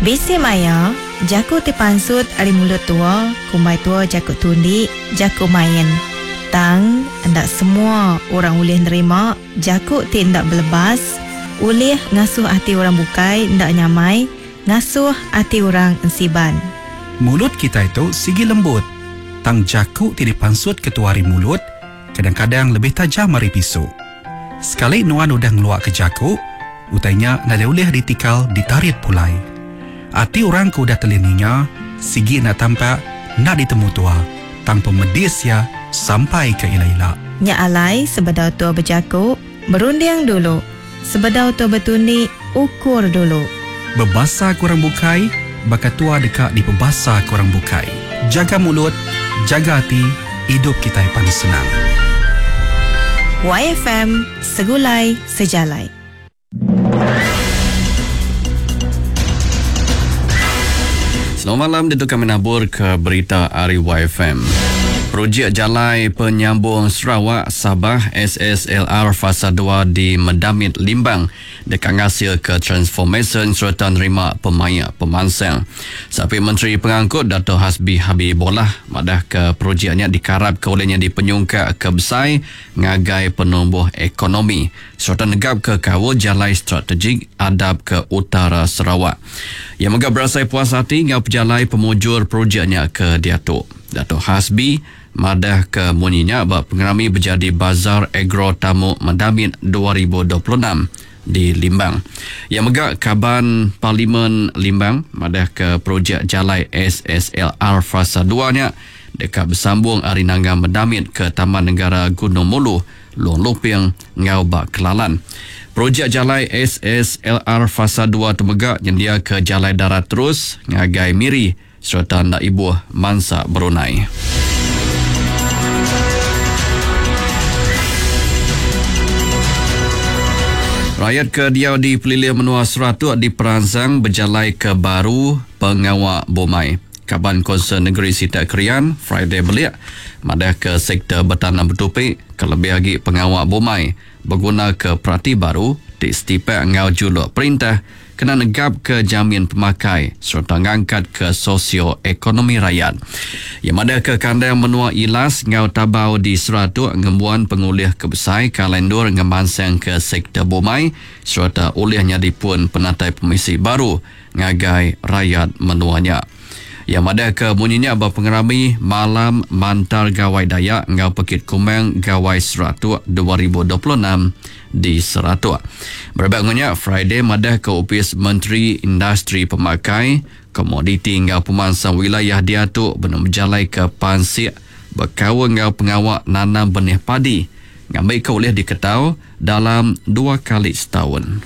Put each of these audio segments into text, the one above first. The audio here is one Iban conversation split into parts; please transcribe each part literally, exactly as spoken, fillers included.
Bisi maya, jaku ti pansut ari mulut tua, kumbai tua jaku tundi, jaku main. Tang enda semua orang ulih nerima jaku ti enda belebas, ulih ngasuh ati orang bukai enda nyamai, ngasuh ati orang ensiban. Mulut kitai tu sigi lembut tang jaku ti dipansutka tua ari mulut kadang-kadang lebih tajam ari pisu. Sekali nuan udah ngeluaka jaku, utai nya nadai ulih ditikal ditarit pulai. Ati orang ke udah telih ninga sigi enda tampak enda ditemu tua tang pemedis iya sampai ke ila-ila. Nya alai sebedau tua bejaku, berunding dulu. Sebedau tua betundi, ukur dulu. Bebasa ke orang bukai baka tua deka dipebasa ke orang bukai. Jaga mulut, jaga ati, idup kitai pan senang. Y F M Segulai Sejalai. Selamat malam, ditu kami nabur ke berita ari Y F M. Projek Jalai Penyambung Sarawak Sabah S S L R Fasa dua di Medamit Limbang deka ngasil ke transformation serta nerima pemaya pemansang. Sapi Menteri Pengangkut Dato' Hasbi Habibollah madah ke projeknya dikarap ke olehnya dipenyungkak ke besai ngagai penumbuh ekonomi serta negap ke kawal jalai strategik adap ke utara Sarawak. Yang mega berasai puas hati ngau pejalai pemujur projeknya ke diatu. Dato' Hasbi madah ke munyinya ba pengerami berjadi Bazar Agro Tamu Medamit dua ribu dua puluh enam di Limbang. Yang mega Kaban Parlimen Limbang madah ke projek Jalai S S L R Fasa dua nya dekat bersambung ari Nanga Medamit ke Taman Negara Gunung Mulu, Long Luping ngau Bak Kelalan. Projek Jalai S S L R Fasa dua temega nyendia ke jalai darat terus ngagai Miri serta nak ibuh Mansa Brunei. Rakyat ke diau di Pelilih Menua Seratuk di Peransang berjalai ke baru pengawak bomai. Kaban Konsel Negeri Sita Krian, Friday Belik, madah ke sektor bertanam bertupi, kelebih lagi pengawak bomai, berguna ke perati baru, di setipak ngau juluk perintah, kena negap ke jamin pemakai serta ngangkat ke sosioekonomi rakyat. Yang ada ke kandang menua Ilas ngau Tabau di Seratuk ngembuan pengulih kebesai kalendur ngemansang ke sektor bomai serta ulihnya dipun penatai pemisi baru ngagai rakyat menuanya. Yang ada ke bunyinya berpengerami Malam Mantar Gawai Dayak ngau Pekit Kumang Gawai Seratuk dua ribu dua puluh enam di Seratuk. Berebak ngunya Friday madah ke Opis Menteri Industri Pemakai, Komoditi ngau Pemansang Wilayah diatu benar berjalai ke Pansik berkawal ngau pengawak nanam benih padi ngambil ke oleh diketau dalam dua kali setahun.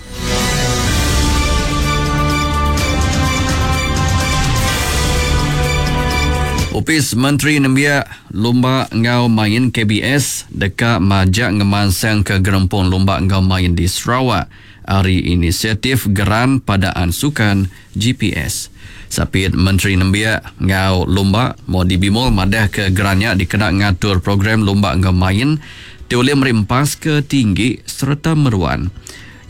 Opis Menteri Nembiak Lumba Ngau Main K B S dekat majak ngemansang ke gerempung Lumba Ngau Main di Sarawak hari inisiatif Geran Padaan Sukan G P S. Sapit Menteri Nembiak Ngau Lumba Modi Bimol madah ke gerannya dikena ngatur program Lumba Ngau Main ti oleh merimpas ke tinggi serta meruan.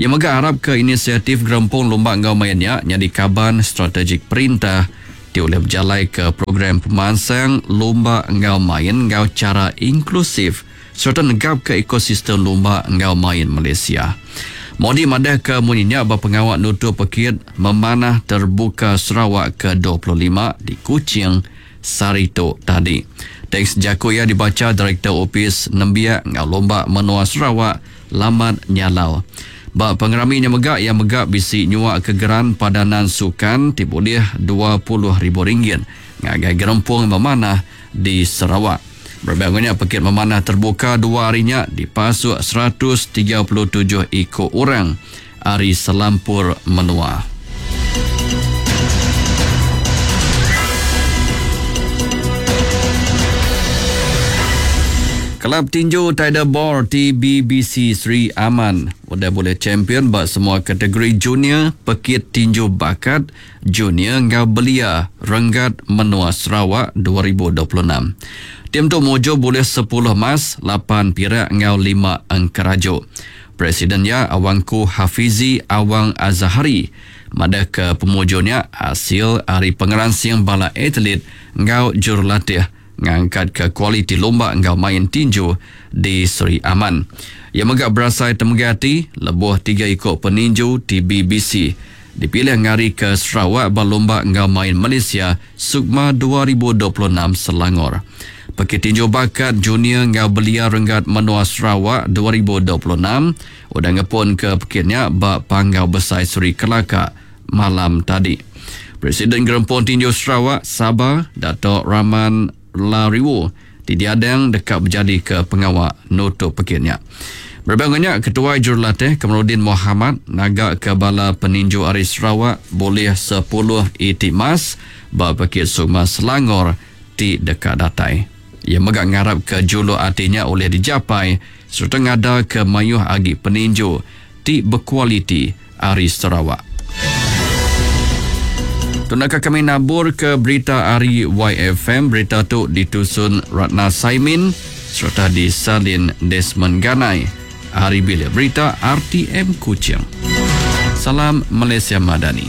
Yang mega harap ke inisiatif gerempung Lumba Ngau Mainnya jadi kaban strategik perintah ti oleh berjalai ke program pemansang Lumba Ngau Main ngau cara inklusif serta negap ke ekosistem Lumba Ngau Main Malaysia. Modi madah ke munyinya berpengawak nutup pekit memanah terbuka Sarawak ke dua puluh lima di Kuching Sarito tadi. Teks jaku ia dibaca Direktur Opis Nembiak Ngau Lumba Menua Sarawak Lamat Nyalau. Ba pengeraminya megak yang megak bisi nyuak kegeran padanan sukan ti boleh dua puluh ribu ringgit ngagai gerempung memanah di Sarawak. Berbangunnya pekit memanah terbuka dua harinya dipasuk seratus tiga puluh tujuh ekor orang ari selampur menua. Kelab Tinju Tider Ball T B B C Sri Aman udah boleh champion bak semua kategori junior, pekit tinju bakat, junior ngau belia renggat menua Sarawak dua ribu dua puluh enam. Tim tu mojo boleh sepuluh emas, lapan pirak ngau lima engkerajo. Presiden iya Awangku Hafizi Awang Azahari madahka pemujur nya asil ari pengeransing bala atlit enggau jurulatih ngangkatka kualiti lumba enggau main tinju di Sri Aman. Iya mega berasai temegah ati lebuh tiga iku peninju T B B C dipilih ngarika Sarawak ba Lumba enggau Main Malaysia Sukma dua ribu dua puluh enam Selangor. Pekit tinju bakat junior enggau belia renggat menua Sarawak dua ribu dua puluh enam udah ngepun ke pekit nya ba Panggau Besai Seri Kelaka malam tadi. Presiden Gerempung Tinju Sarawak Sabah Dato' Rahman Lariwu ti diadang deka bejadi ke pengawa nutup pekit nya. Berbangnya Ketua Jurulatih Kamarudin Muhammad naga ke bala peninju ari Sarawak boleh sepuluh iti mas ba pekit Sukma Selangor ti deka datai. Ia mega ngarap ke juluk hatinya oleh dijapai serta ngada ke mayuh agi peninju ti berkualiti ari Sarawak. Tunaka kami nabur ke berita ari Y F M. Berita tu ditusun Ratna Saimin serta disalin Desmond Ganai. Hari Bilik Berita R T M Kuching. Salam Malaysia Madani.